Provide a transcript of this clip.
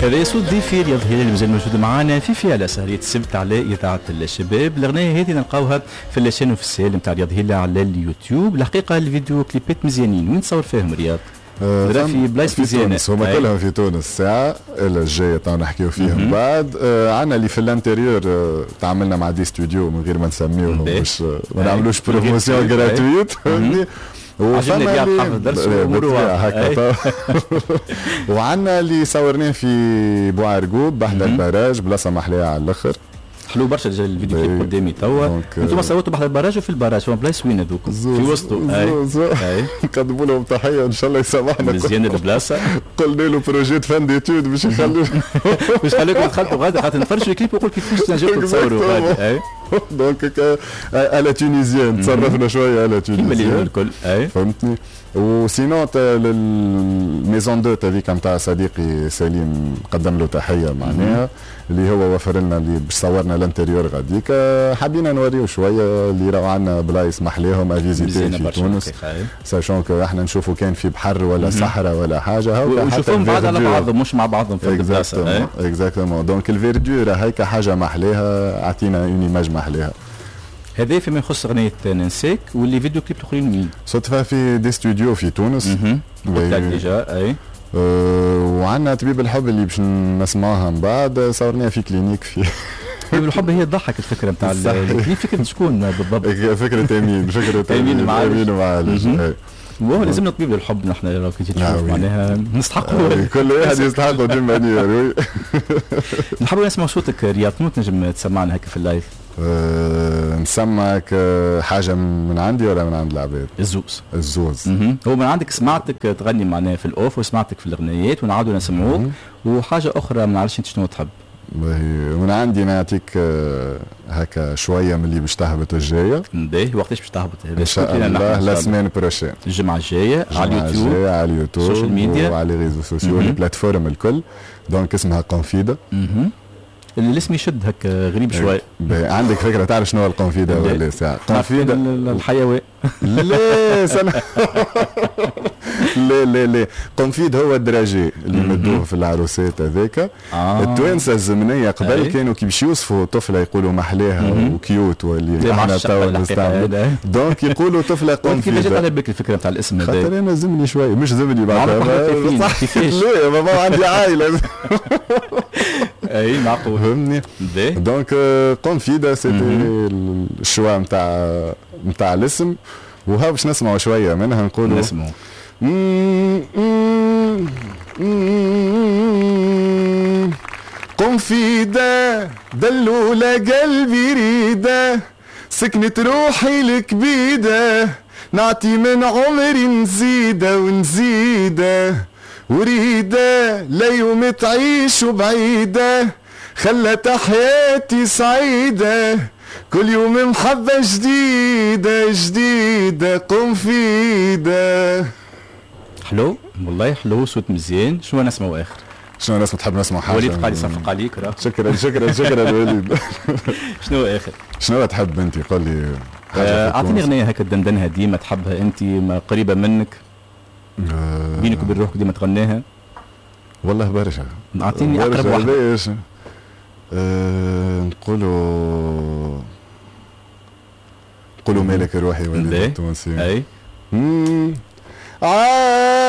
هذا صوت ضيفي رياض هلال اللي مازال موجود معنا في على سهرية السبت على إذاعة الشباب. الأغنية هذه نلقاوها في la chaîne officielle نتاع رياض هلال على اليوتيوب. الحقيقة الفيديو كليبات مزيانين، وين تصور فيهم رياض؟ في بلايص مزيانة، هما كلهم في تونس. الساعة الجاية تو نحكيو فيهم بعد. عندنا اللي في l'intérieur تعاملنا مع des studios من غير ما نسميوهم باش ما نعملوش promotion gratuite، فهمتني؟ وفما هكا. وعندنا اللي صورناه في بوعرقوب بحذا ال barrage، بلاصة محلية على الاخر. حلو برشا الفيديو كليب قدامي توا. انتم صورتوا بحذا ال barrage وفي ال barrage، فما بلايص وين هذوك؟ في وسطه. نقدموا لهم تحية ان شاء الله يسامحنا. مزيان البلاصة. قلنا له projet fin d'études باش يخلوا باش يخليكم تخلطوا غادي، خاطر نتفرجوا الكليب ويقول كيفاش تنجموا تصوروا غادي. donc à la tunisienne تصرفنا شوية à la tunisienne كيما الكل. فهمتني؟ و sinon ال maison d'hôtes هذيك نتاع صديقي سليم، قدم له تحية معناها، اللي هو وفر لنا اللي باش صورنا l'intérieur غاديك. حبينا نوريو شوية اللي راهو عندنا بلايص محليهم à visiter في تونس، sachant que احنا نشوفوا كان في بحر ولا صحراء ولا حاجة. ونشوفوهم بعض على بعضهم مش مع بعضهم في البلاصة. exactement، donc ال verdure هيك حاجة محليها، اعطينا une image محليها. هذا فيما يخص اغنية ننساك. و les vidéo clips الاخرين وين؟ صدفة في des studios في تونس. قلت لك déjà اي. وعندنا طبيب الحب اللي باش نسمعوها من بعد، صورناها في clinique في طبيب الحب. هي تضحك الفكرة نتاع الكليب، فكرة شكون بالضبط؟ فكرة امين، فكرة امين المعالج. امين المعالج. وهو لازمنا طبيب للحب نحن لو كنت تشوف، معناها نستحقوا. كل واحد يستحقوا d'une manière. نحبوا نسمع صوتك رياض، تنجم تسمعنا هكا في ال live؟ نسمعك حاجة من عندي ولا من عند العباد؟ الزوز. الزوز. هو من عندك سمعتك تغني معناها في ال off وسمعتك في الأغنيات ونعاودوا نسمعوك، وحاجة أخرى ما نعرفش أنت شنو تحب. من عندي نعطيك هكا شوية من اللي باش تهبط الجاية. باهي، وقتاش باش تهبط؟ إن شاء الله la semaine prochaine. الجمعة الجاية على اليوتيوب. على اليوتيوب، ال social media، وعلى les réseaux sociaux، les plateformes الكل. donc اسمها قنفيدة. الاسم يشد هكا غريب شوي. عندك فكرة تعرف شنو هو القنفيده ولا ساعة؟ قنفيده الحيوان. لا سنة. لا لا لا، قنفيد هو ال dragée اللي مدوه في العروسات هذاك. التوانسة الزمنية قبل كانوا كي باش يوصفوا طفله يقولوا محلاها و cute، واللي احنا توا نستعملوا، donc يقولوا طفله قنفيده. كيفاش جات على بالك الفكرة نتاع الاسم هذا؟ خاطر انا زمني شوية، مش زمني بعد. كيفاش؟ لا بابا عندي عائلة. اي معقول. فهمني؟ donc قنفيده c'était ال choix نتاع الاسم، وها باش نسمعوا شوية منها. نقولوا نسمعوا. قنفيدة دلولة قلبي ريدة، سكنت روحي الكبيدة، نعطي من عمري نزيدة ونزيدة، وريدة لا يوم تعيش بعيدة، خلت حياتي سعيدة، كل يوم محبة جديدة جديدة قنفيدة. حلو والله، حلو، صوت مزيان. شنو نسمعوا اخر؟ شنو نسمع؟ تحب نسمع حاجة؟ وليد قاعد يصفق عليك راه. شكرا شكرا شكرا وليد. شنو اخر؟ شنو تحب انت؟ قول لي حاجة. اعطيني اغنية هكا تدندنها ديما، تحبها انت، قريبه منك، بينك وبين روحك ديما تغنيها. والله برشا. اعطيني اقرب واحدة. نقولوا مالك روحي وليد التونسي. اي. عايش